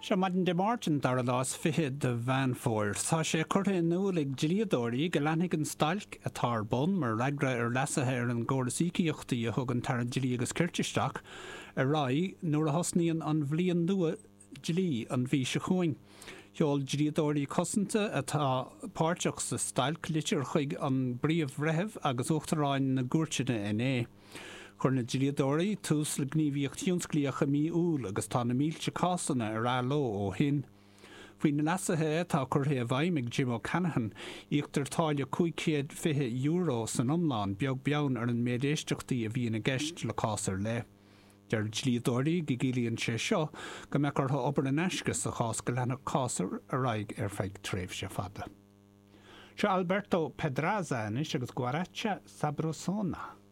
Seo maidin Dé Máirt an dara lá is 20 de Mheán Fómhair. Tá sé curtha in iúl ag dlíodóirí go leanfaidh an stailc, atá ar bun mar fhreagra ar leasuithe ar an gcóras íocaíochtaí a thug an tAire Dlí agus Cirt isteach, ar aghaidh nuair a thosnaíonn an bhliain nua dlí an mhí seo chugainn. Sheol dlíodóirí cosanta atá páirteach sa stailc litir chuig an bPríomh-Bhreitheamh agus Uachtaráin na gcúirteanna inné. Chuir na dlíodóirí tús le gníomhaíocht thionsclaíoch i mí Iúil agus tá na mílte cásanna ar athló ó shin. Faoi na leasuithe atá curtha i bhfeidhm ag Jim O'Callaghan, íoctar táille €520 san iomlán, beag beann ar an méid éisteachtaí a bhíonn i gceist le cás ar leith. Deir dlíodóirí go gciallaíonn sé seo go mbeadh orthu obair in aisce sa chás go leanfadh cás ar aghaidh ar feadh tréimhse fada. Seo Alberto Pedraza anois agus Guaracha Sabrosona.